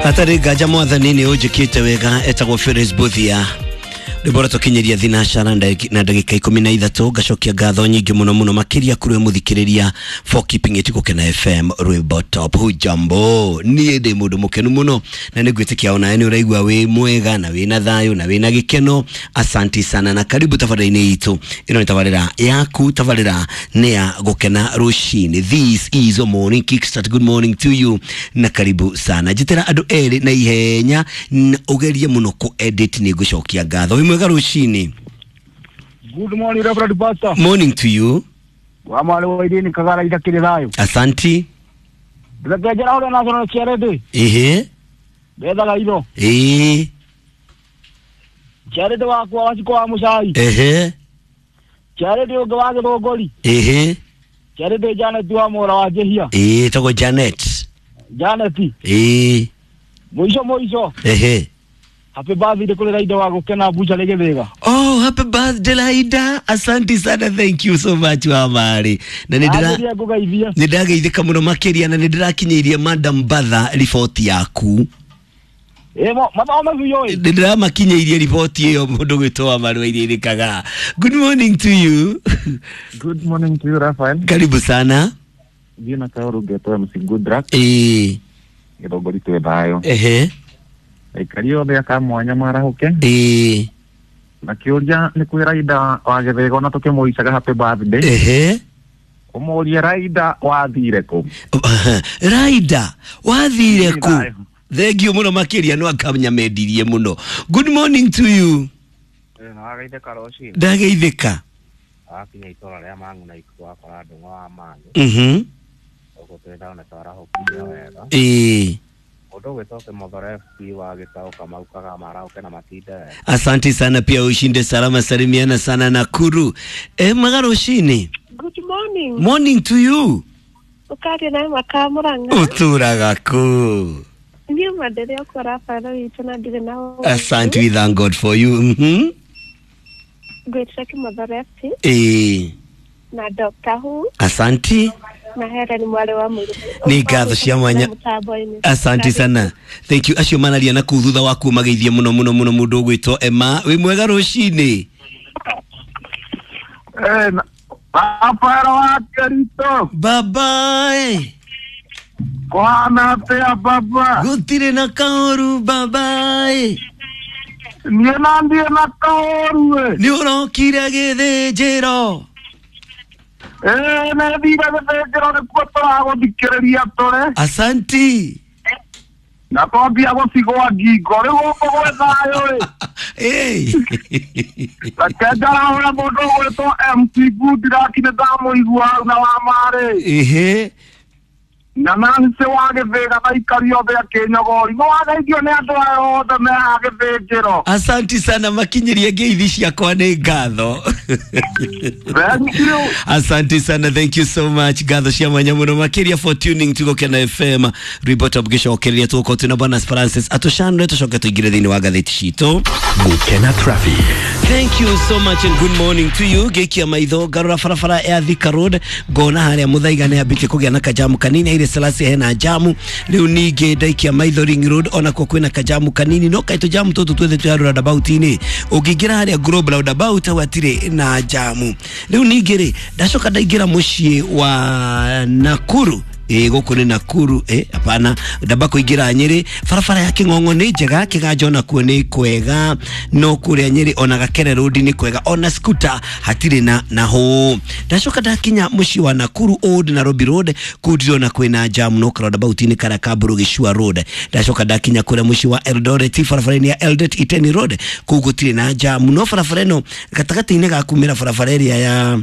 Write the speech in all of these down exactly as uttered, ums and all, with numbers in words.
Hatarĩ nganja mwathani nĩ ũnjĩkĩte wega. Etagwo Felix Buthia, rwĩmbo rũtũkinyĩria thinacara na ndagĩka ikũmi na ithatũ. Ngacokia ngatho nyingĩ mũno mũno makĩria kũrĩ mũthikĩrĩria for keeping it Gũkena F M, rwĩmbo top. Hujambo, niĩ ndĩ mũndũ mũkenu mũno na nĩ ngwĩtĩkia onawe nĩ ũraigua wĩ mwega na wĩna thayũ na wĩna gĩkeno. Asanti sana na karibu tabarĩra-inĩ itũ. Ĩno nĩ tabarĩra yaku, tabarĩra nĩ ya Gũkena Rũcinĩ. This is a Morning Kickstart. Good morning to you na karibu sana. Njĩtĩra andũ erĩ na ihenya na ũgerie mũno kũ edit, nĩ ngũcokia ngatho. Wĩ mwega rũcinĩ. Good morning, Reverend Pastor. Morning to you. Wa mwarĩ wa Irene Kagara idakĩrĩ thayũ. Asanti. Reke njara ũrĩa National Charity. Ehe. Ndethaga itho. Ĩĩ. Charity wakwa Wacikũ wa Mũcai. Ehe. Charity ũngĩ wa Gĩthũngũri. Ehe. Charity Janet wa Mũra wa Njĩhia. Ĩĩ, tagwo Janet. Janet. Ĩĩ. Mũico mũico. Ehe. Happy birthday kũrĩ Raida wa Gũkena Bucha Gĩthĩga. Oh, happy birthday, Laida. Asante sana, thank you so much, Wamari. Na nĩ ndĩra Ndĩra ngũgeithia. Nĩ ndageithĩka mũno makĩria na nĩ ndĩrakinyĩirie Madam Batha riboti yaku. Ĩ mathome biũ ĩ. Nĩ ndĩramakinyĩirie riboti ĩyo mũndũ gwĩtwo Wamari wa Iria Kagaa. Good morning to you. Good morning to you, Raphael. Karibu sana. Jina Kaoru Geto M C Goodluck. Ĩĩ. Gĩthũngũri twĩ thayũ. Ehe. Aikari othe aka mwanya marahũke. Ĩĩ. Na kĩũria nĩ kwĩ Raida wa Gĩthĩgo na tũkĩmũicaga happy birthday. Ehe. Ũmũrie Raida wathire kũ? Raida wathire kũ? Thayũ. Thank you mũno makĩria, no akanyamendirie mũno. Good morning to you. Nĩwageithĩka rũcinĩ. Ndageithĩka. Wakinya itũra rĩa Mang'u na ikuũ wakora Ndung'u wa Mang'u. Mhm. Gũkũ twĩ thayũ na twarahũkirio wega. Ĩĩ. Mũndũ ũgwĩtwo Kĩmothore F C wa Gĩtaũ Kamau Kagama arahũke na matinde wega. Asante sana, pia ushinde salama, salimiana sana Nakuru. Eh, mwega rũcinĩ. Good morning. Morning to you. Ũkaria na Maka Mũrang'a. Ũtũraga kũ? Niĩ mandere okwa Rafael witũ na ndirĩ na ũũru. Asante, we thank God for you. Mhm. Ngwĩtire Kĩmothore F C Ĩĩ. na Doctor Who Asante. na Helen mwarĩ wa mũirũ. Nĩ ngatho cia mwanya. Mũtambo-inĩ. Asante sana. Thank you. Acio manaria na kuu thutha waku mageithie mũno mũno mũno mũndũ ũgwĩtwo Emma. Wĩ mwega rũcinĩ. Eh, na- Rafael wa Kerito. Bye bye. Kũhana atĩa baba? Gũtirĩ na kaũru, bye bye. Niĩ na ndiĩ na kaũru ĩ. Nĩ ũrokire gĩthĩnjĩro. Ĩ nĩ thire gĩthĩnjĩro nĩkuo tũragũthikĩrĩria tũrĩ. Asanti. Na twambia gũcigwa ngingo rĩu gũkũ gwĩ thayũ ĩ. Hey. Reke njarahũre mũndũ ũgwĩtwo M C Goodluck, nĩ ndamũigua hau na wa marĩ. Ehe. Na Nancy wa Gĩthĩga na aikari othe a Kĩnyogori. Nĩ wageithio nĩ andũ aya othe me haha gĩthĩnjĩro. Asanti sana, makinyĩrie ngeithi ciakwa nĩ ngatho. Thank you. Asante sana, thank you so much. Ngatho cia mwanya mũno makĩria for tuning to Gũkena F M. Rwĩmbo top gĩcokereria tũgũkorwo twĩna Bwana Francis atũcanũre tũcoke tũingĩre thĩinĩ wa ngathĩti citũ. Gũkena Traffic. Thank you so much and good morning to you. Ngĩikia maitho ngarora barabara ya Thika Road, ngona harĩa Mũthaiga nĩ ambĩtie kũgĩa na kajamu kanini. Haile Selassie hena jamu rĩu. Ningĩ ndaikia maitho Ring Road, onakuo kwĩna kajamu kanini, no kaĩ tũjamu tũtũ twethe twĩ roundabout-inĩ. Ũngĩingĩra harĩa Global Roundabout hau hatirĩ na jamu. Rĩu ningĩ rĩ, ndacoka ndaingĩra mũciĩ wa Nakuru. Ĩ gũkũ nĩ Nakuru? Ĩ hapana, ndamba kũingĩra Nyĩrĩ. Barabara ya Kĩng'ong'o nĩ njega, Kĩganjo nakuo nĩ kwega, no kũrĩa Nyĩrĩ ona Gakere Road nĩ kwega, ona Skuta hatirĩ na na hũ. Ndacoka ndakinya mũciĩ wa Nakuru Old Nairobi Road, kũu ndirona kwĩna jam, no roundabout-inĩ karĩa ka Mbũrũ Gĩcua Road. Ndacoka ndakinya kũrĩa mũciĩ wa Eldoret, barabara-inĩ ya Eldoret Iten Road, kũu gũtirĩ na jam, no barabara ĩno gatagatĩ-inĩ ga kumĩra barabara ĩrĩa ya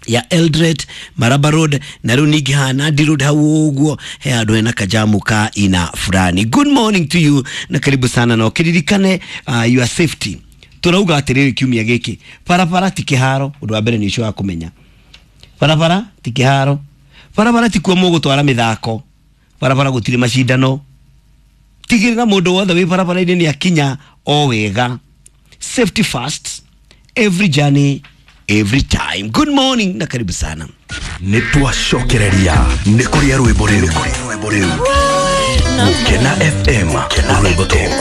ya Eldoret Maraba Road na rĩu ningĩ haha Nandi Road hau ũguo he handũ hena kajamu ka ina fulani. Good morning to you na karibu sana, na ũkĩririkane uh, your safety. Tũrauga atĩrĩrĩ, kiumia gĩkĩ barabara ti kĩharo. Ũndũ wa mbere nĩ ũcio wa kũmenya barabara ti kĩharo, barabara ti kuo mũgũtwara mĩthako, barabara gũtirĩ macindano. Tigĩrĩra mũndũ wothe wĩ barabara-inĩ nĩ akinya o wega. Safety first, every journey, every time. Good morning na karibu sana. Nĩ twacokereria nĩ kũrĩa rwĩmbo rĩu. Gũkena. Gũkena F M, rwĩmbo top.